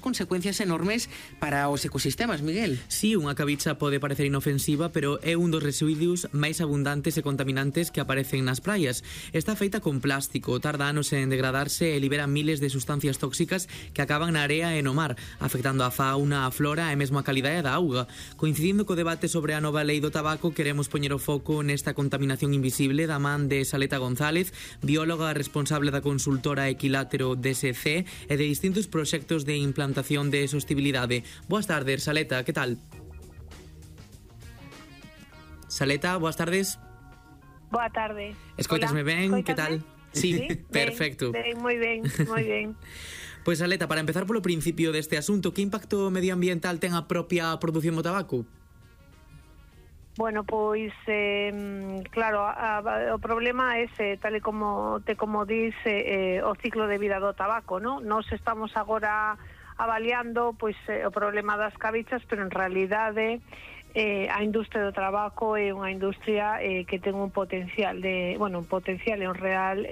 consecuencias enormes para os ecosistemas, Miguel. Sí, unha cabicha pode parecer inofensiva, pero é un dos residuos máis abundantes e contaminantes que aparecen nas praias. Está feita con plástico, tarda anos en degradarse e libera miles de sustancias tóxicas que acaban na area e no mar, afectando a fauna, a flora e mesmo a calidade da auga. Coincidindo co debate sobre a nova lei do tabaco, queremos poñer o foco nesta contaminación invisible da man de Saleta González, bióloga responsable da consultora Equilátero DSC e de distintos proxectos de implantación de sostibilidade. Boas tardes, Saleta, que tal? Saleta, boas tardes. Boa tarde. Escoitasme ben, que tal? Sí, perfecto. Ben, moi ben, moi ben. Pois, Saleta, para empezar polo principio deste asunto, que impacto medioambiental ten a propia produción do tabaco? Bueno, pois, claro, o problema é ese, tal e como dis, o ciclo de vida do tabaco, non? Nos estamos agora avaliando pois o problema das cabichas, pero en realidade a industria do tabaco é unha industria que ten un potencial e un real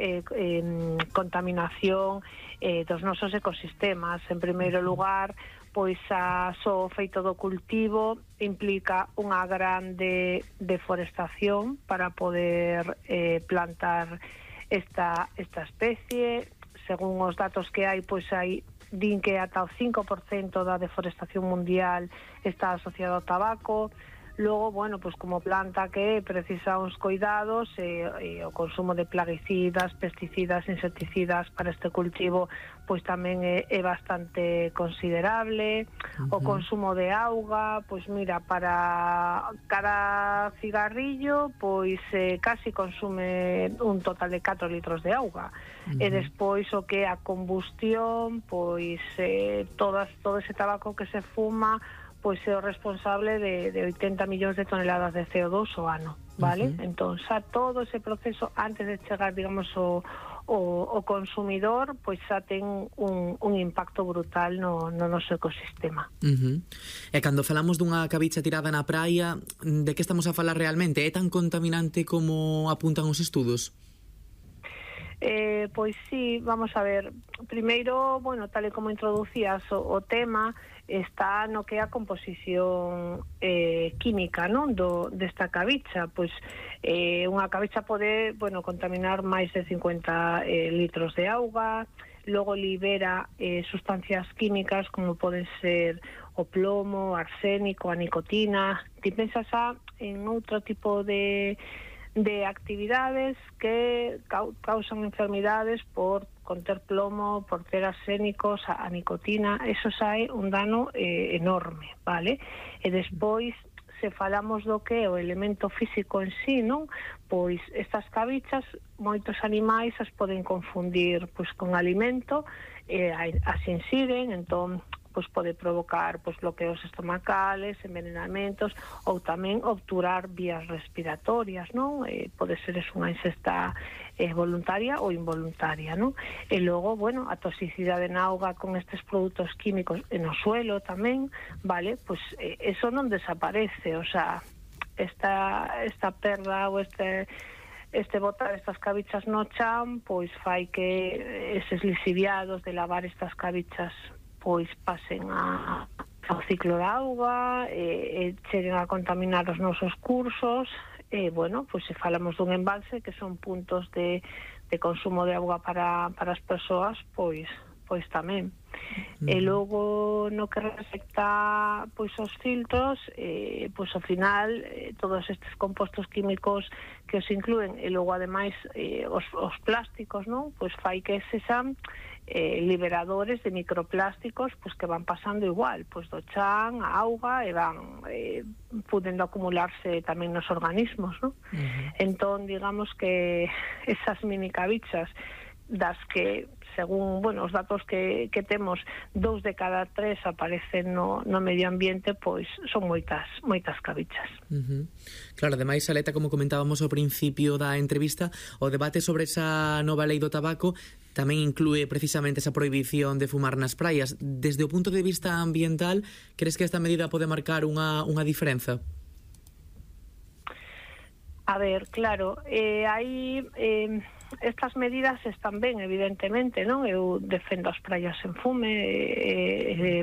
contaminación dos nosos ecosistemas. En primeiro lugar, pois só o feito do cultivo implica unha grande deforestación para poder plantar esta especie. Según os datos que hai, pois din que ata o 5% da deforestación mundial está asociado ao tabaco. Logo, bueno, pois como planta que precisa uns cuidados e o consumo de plaguicidas, pesticidas, insecticidas para este cultivo pois tamén é bastante considerable. O consumo de auga, pois mira, para cada cigarrillo pois casi consume un total de 4 litros de auga. E despois o que é a combustión, pois todo ese tabaco que se fuma pois é o responsable de 80 millóns de toneladas de CO2 ao ano, vale? Entón, xa todo ese proceso, antes de chegar, digamos, o consumidor, pois xa ten un impacto brutal no noso ecosistema. E cando falamos dunha cabicha tirada na praia, de que estamos a falar realmente? É tan contaminante como apuntan os estudos? Pois sí, vamos a ver. Primeiro, bueno, tal e como introducías o tema, está no que é a composición química, non, desta cabicha. Pois unha cabicha pode, bueno, contaminar máis de 50 litros de auga. Logo libera sustancias químicas como poden ser o plomo, arsénico, a nicotina. Ti pensas en outro tipo de actividades que causan enfermidades por conter plomo, por ter arsénicos, a nicotina. Eso xa é un dano enorme, vale? E despois, se falamos do que é o elemento físico en sí, non? Pois estas cabichas, moitos animais as poden confundir pois con alimento, as insiren, entón pois pode provocar pois bloqueos estomacales, envenenamentos ou tamén obturar vías respiratorias, non? Pode ser unha ingesta voluntaria ou involuntaria, non? E logo, bueno, a toxicidade na auga con estes produtos químicos e no suelo tamén, vale? Pois eso non desaparece, o sea, esta perda ou este botar estas cabichas no chan, pois fai que eses lixiviados de lavar estas cabichas pois pasen ao ciclo da auga, cheguen a contaminar os nosos cursos, bueno, pois se falamos dun embalse que son puntos de consumo de auga para as persoas, pois tamén. E logo no que respecta pois aos filtros, pois ao final todos estes compostos químicos que os incluen e logo ademais os plásticos, non? Pois fai que sexan liberadores de microplásticos pois que van pasando igual, pois do chan, a auga, e van podendo acumularse tamén nos organismos, non? Entón, digamos que esas mini cabichas das que, según, bueno, os datos que temos, 2 de cada 3 aparecen no medio ambiente, pois son moitas cabichas. Claro, ademais, Saleta, como comentábamos ao principio da entrevista, o debate sobre esa nova lei do tabaco tamén inclúe precisamente esa prohibición de fumar nas praias. Desde o punto de vista ambiental, crees que esta medida pode marcar unha diferenza? A ver, claro, aí estas medidas están ben, evidentemente, non? Eu defendo as praias sen fume,